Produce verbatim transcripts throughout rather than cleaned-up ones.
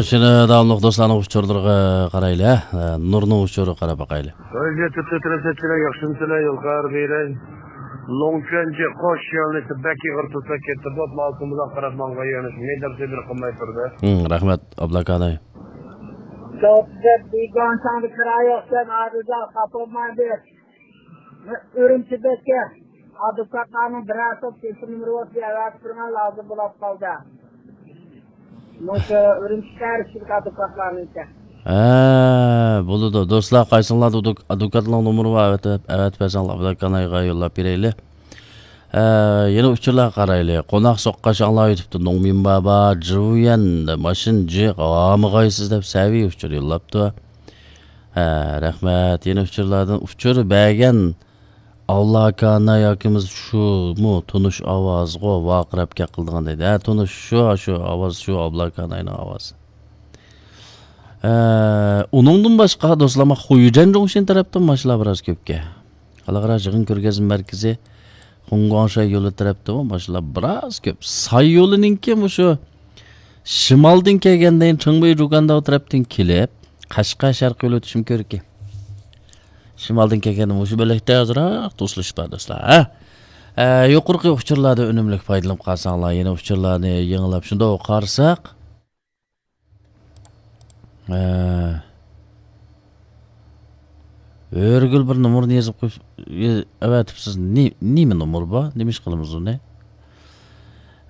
شۇنى داۋاملىق دوستلارنىڭ ئۇچۇرلىرىغا قارايلى، ھە. نۇرنىڭ ئۇچۇرىغا قاراپ باقايلى. ھۆرمەتلىك تۆت رەسىدچىلەر، ياخشىمۇسىلەر؟ يول خەۋەر بېرەي. لوڭچۈەنجى قوش يۆنىلىشى بەك ئېغىر تۇرسا كەتتى بولۇپ، مالكوم بىلەن قاراپ ماڭغان يۆنىلىش مەيدان سېدىر قىلماي تۇردى. ھىم، رەھمەت، ئابلاكاناي. سوپىدەپ دېگەن ساڭدا كىرايوقسەن، ئادىدا خاپا بولمايدۇ. ئۈرۈمچىدىكى ئادۋوكاتلارنىڭ بىرەرسى تېلېفون نومۇرى بولسا ئەۋەتىپ بېرىڭە، لازىم بولۇپ قالدى. مۇشۇ ئۈرۈمچى شەھەر ئىچىدىكى ئادۋوكاتلارنىڭكى. ھە، بولىدۇ. دوستلار، قايسىڭلاردا ئادۋوك-، ئادۋوكاتنىڭ نومۇرى بار، ئەۋەتىپ، ئەۋەتىپ بەرسەڭلار، ئابلاكانايغا يوللاپ بېرەيلى. ھە، يەنە ئۇچۇرلارغا قارايلى. قوناق سوققاچ ئاڭلاۋېتىپتۇ. نوڭمىن بابا، جىۋيەن، ماشىن جىق، ھامىغايسىز دەپ سەۋىي ئۇچۇر يوللاپتۇ. ھە، رەھمەت. يەنە ئۇچۇرلاردىن ئۇچۇر بەرگەن ئابلاكاناي ئاكىمىز شۇمۇ تونۇش ئاۋازغۇ ۋارقىراپ گەپ قىلىدىغان دەيدۇ. ھە، تونۇش شۇ، شۇ ئاۋاز، شۇ ئابلاكاناينىڭ ئاۋازى. ئە، ئۇنىڭدىن باشقا دوستلار، ما خۇيجەن جۇڭشىن تەرەپتىن ماشىنىلار بىراز كۆپكەن. خەلقئارا يىغىن كۆرگەزمە مەركىزى خۇڭگۇاڭشەي يولى تەرەپتىمۇ ماشىنىلار بىراز كۆپ. ساي يولىنىڭكى مۇشۇ شىمالدىن كەلگەندىن چىڭبېي جۇگانداۋ تەرەپتىن كېلىپ، قەشقەر شەرقىي يول ئۆتۈشمۇ كۆركى. شىمالدىن كەلگەندە مۇشۇ بۆلەكتە ئازراق توسۇلۇش بار دوستلار، ھە؟ ئە، يۇقىرىقى ئۇچۇرلاردىن ئۈنۈملۈك پايدىلىنىپ قالساڭلار، يەنە ئۇچۇرلارنى يېڭىلاپ شۇنداق قارىساق، ئە، ھۆرىگۈل بىر نومۇرنى يېزىپ قويۇپ، ئەۋەتىپسىز. نى-، نېمە نومۇر بار؟ نېمە ئىش قىلىمىز ئۇنى؟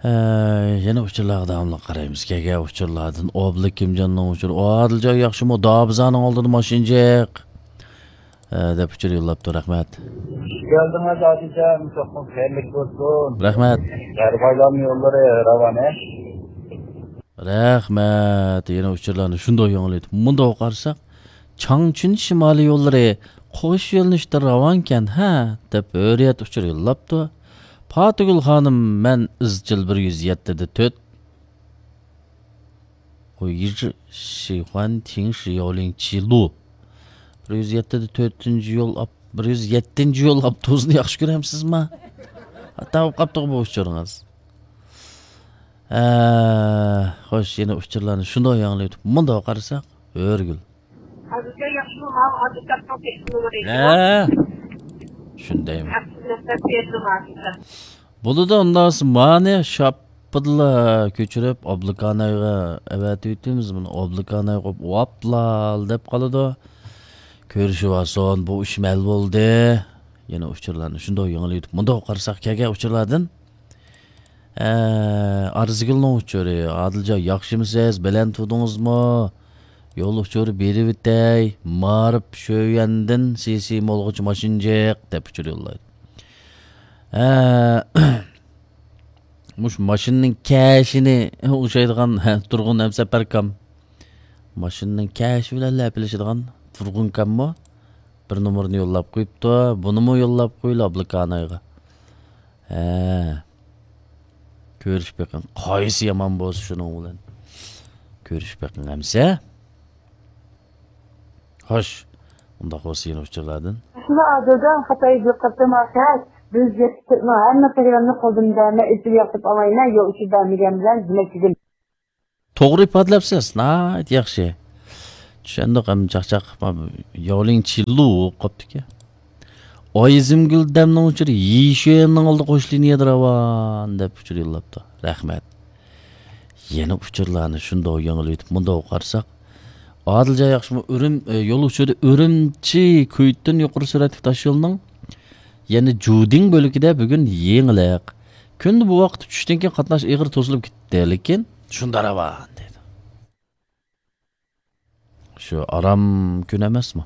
ئە، يەنە ئۇچۇرلارغا داۋاملىق قارايمىز. كەلگەن ئۇچۇرلاردىن ئابلىكىمجاننىڭ ئۇچۇرى. ئادىلجان ياخشىمۇ؟ دابىزانىڭ ئالدىدا ماشىنا جىق. ئە، دەپ ئۇچۇر يوللاپتۇ. رەھمەت. خۇش كەلدىڭىز ئادىلجان. چوقۇم خەيرلىك بولسۇن. رەھمەت. غەربىي ئايلانما يوللىرى راۋان، ھە؟ رەھمەت. يەنە ئۇچۇرلارنى شۇنداق يېڭىلايدۇ. مۇنداق قارىساق، چاڭچۈن شىمالىي يوللىرى قوش يۆنىلىشتە راۋانكەن، ھە؟ دەپ ھۆرىيەت ئۇچۇر يوللاپتۇ. پاتىگۈل خانىم، مەن ئىزچىل بىر يۈز يەتتىدە تۆت. خۇيجى شىخۇەن تىڭ شى ياۋلىڭ چى لۇ. بىر يۈز يەتتىدە تۆتىنچى يول ئاپ-، بىر يۈز يەتتىنچى يول ئاپتوبۇسىنى ياخشى كۆرەمسىزما؟ تاۋۇپ قاپتۇغۇ بۇ ئۇچۇرىڭىز. ئە، خوش، يەنە ئۇچۇرلارنى شۇنداق ياڭلىۋېتىپ، مۇنداق قارىساق، ھۆرىگۈل. ھازىرچە ياخشىمۇ؟ ماۋۇ ئادۋوكاتنىڭ تېلېفون نومۇرى. ھە؟ شۇندايمۇ؟ ھەپتىدە بەش يۈز دوللار. بولىدۇ، ئۇنداق بولسا مانى شاپپىدىلا كۆچۈرۈپ، ئابلىكانايغا ئەۋەتىۋېتىمىز. مانا ئابلىكاناي قوپ ۋاپلال دەپ قالىدۇ. كۆرۈشۈۋالسۇن، بۇ ئىش مەل بولدى. يەنە ئۇچۇرلارنى شۇنداق يېڭىلىۋېتىپ، مۇنداق قارىساق، كەلگەن ئۇچۇرلاردىن ئە، ئارزىگۈلنىڭ ئۇچۇرى. ئادىلجان، ياخشىمۇسىز؟ بەلەن تۇردىڭىزمۇ؟ يول ئۇچۇرى بېرىۋېتەي. مائارىپ شۆيۈەندىن سىسى مولغىچە ماشىنا جىق، دەپ ئۇچۇر يوللايدۇ. ئە، مۇشۇ ماشىنىنىڭ كەشىنى ئوخشايدىغان، ھە، تۇرغۇن ھەمسەپەركام. ماشىنىنىڭ كەشى بىلەن لەپىلىشىدىغان تۇرغۇنكاممۇ؟ بىر نومۇرنى يوللاپ قويۇپتۇ. بۇنىمۇ يوللاپ قويلا ئابلىكانايغا. ھە. كۆرۈشۈپ بېقىڭ. قايسى يامان بولسا شۇنىڭ بىلەن كۆرۈشۈپ بېقىڭ ئەمسە. خوش. ئۇنداق بولسا يەنە ئۇچۇرلاردىن. شۇلا ئادىلجان، خىتاي بىر قېتىم ئاخىر بىز يەتتە تۆتنىڭ ھەممە قىلغىنىنى قولدىن بەرمەي ئېسىل ياقتۇرۇپ ئالايمەن، يول ئۇچۇر بەرمىگەن بىلەن دېمەكچىدىم. توغرا ئىپادىلەپسىز، ناھايىتى ياخشى. چۈشەندۇق، ئەمدى چاقچاق، ياۋلىڭ چىلۇ قاپتىكەن. ئايزىمگۈل دەمنىڭ ئۇچۇرى يىشۈەننىڭ ئالدى قوش لىنىيەدە راۋان دەپ ئۇچۇر يوللاپتۇ. رەھمەت. يەنە ئۇچۇرلارنى شۇنداق يېڭىلىۋېتىپ، مۇنداق قارىساق، ئادىلجان ياخشىمۇ؟ ئۈرۈم-، ئۆ، يول ئۇچۇرى ئۈرۈمچى كۈيتۈن يۇقىرى سۈرئەتلىك تاشيولىنىڭ يەنە جۇدىڭ بۆلىكىدە بۈگۈن يېڭىلىق. كۈندە بۇ ۋاقىتتا چۈشتىن كېيىن قاتناش ئېغىر توسۇلۇپ كېتىدۇ، لېكىن شۇنداق راۋان دەيدۇ. شۇ ئارام كۈن ئەمەسمۇ؟